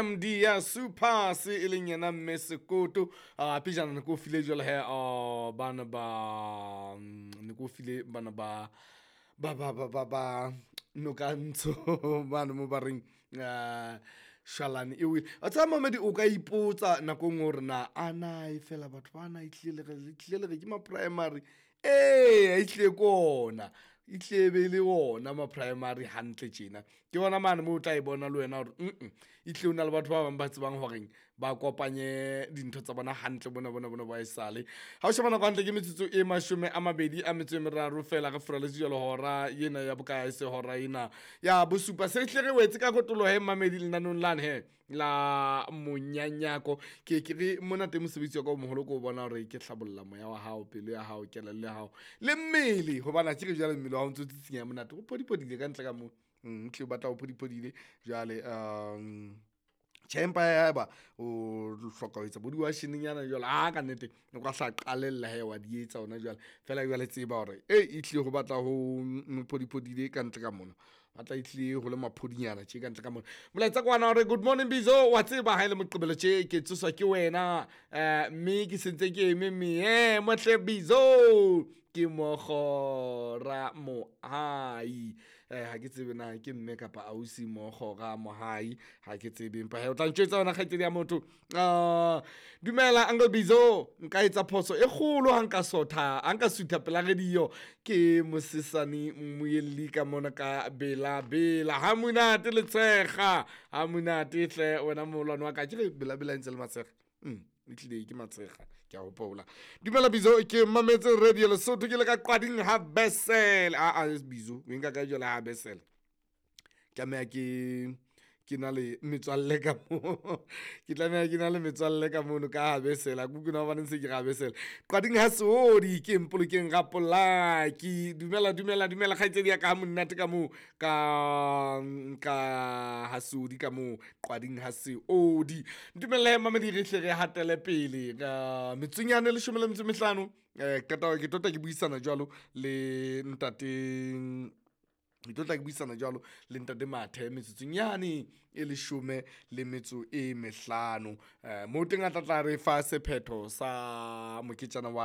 MD ya Supers e leng yena mme Sekoto. Pejana ne ke o file jwale he, bana ba ne ke o file bana ba ba ba ba ba ba noka ntsho bane mo ba reng shwalane e wele. Wa tseba mamedi, o ka ipotsa nako e nngwe hore na a na e fela batho bana e hlile le hlile le re ke ma-primary. Eya ehlile ke ona, e hlile e be le ona ma-primary hantle tjena. Ke yona mane moo o tla e bona le wena hore ehlile ho na le batho ba bang ba tsebang horeng ba kopanye dintho tsa bona hantle bona bona bona ba esale. Ha o sheba nako hantle ke metsotso e 23 feela re furaletse jwalo hora ena ya bokae se hora ena ya bosupa. Se hlile re wetse ka kotloloho he mmamedi lenaneong lane he la monyanyako. Ke ke re mona teng mosebetsi wa ka o moholo ke ho bona hore ke hlabolla moya wa hao, pelo ya hao, kelello ya hao le mmele hobane akere jwale mmele wa hao o ntso tsitsinyeha monate, o phodiphodile ka ntle ka moo. Ehlile o batla o phodiphodile jwale tjhe, empa haeba o hloka ho etsa bo diwashenenyana jwalo, aa ka nnete o ka hla qalella hee wa di etsa hona jwale. Feela jwale tseba hore ehlile ho batla ho phodiphodile ka ntle ka mona, batla ehlile ho le maphodinyana tje ka ntle ka mona. Molaetsa ke wana o re good morning Bizo, wa tseba ha ele Moqebelo tje ke tsoswa ke wena mme ke sentse ke eme meemo hle Bizo, ke Mokgora Mohai. Ha ke tsebe na ke mme kapa ausi Mokgora Mohai, ha ke tsebe empa hee o tla ntjwetsa wena kgaitsedi ya motho. Dumela Uncle Bizo, nka etsa phoso e kgolo ha nka sotha, ha nka sutha pela radio. Ke mosesane mmuelli ka mona ka Bela Bela, ha monate letshega, ha monate hle wena moholwane wa ka. Akere Bela Bela e ntse le matshega? Ehlile ke matshega ke a hopola. Dumela Bizo, ke mametse radio Lesotho ke le ka Qwading ha Besele. Aa Bizo o e nka kae jwale ha Besele? Tlameha ke na le metswalle ka mo, ke tlameha ke na le metswalle ka mono ka ha Besele. A ke utlwe na hobaneng se ke re ha Besele. Qwading ha Seodi ke Mpolokeng Rapolaki. Dumela dumela dumela kgaitsedi ya ka, ha monate ka moo ka ha Seodi ka moo Qwading ha Seodi. Ntumelle mamedi re hle re hatele pele ka metsotsonyana e 15. Qeta ke tlo tla ke buisana jwalo le ntate, ke tlo tla ke buisana jwalo le ntate Mathe metsotsong yane e 15. Moo teng a tla tla re fa sephetho sa moketjana wa.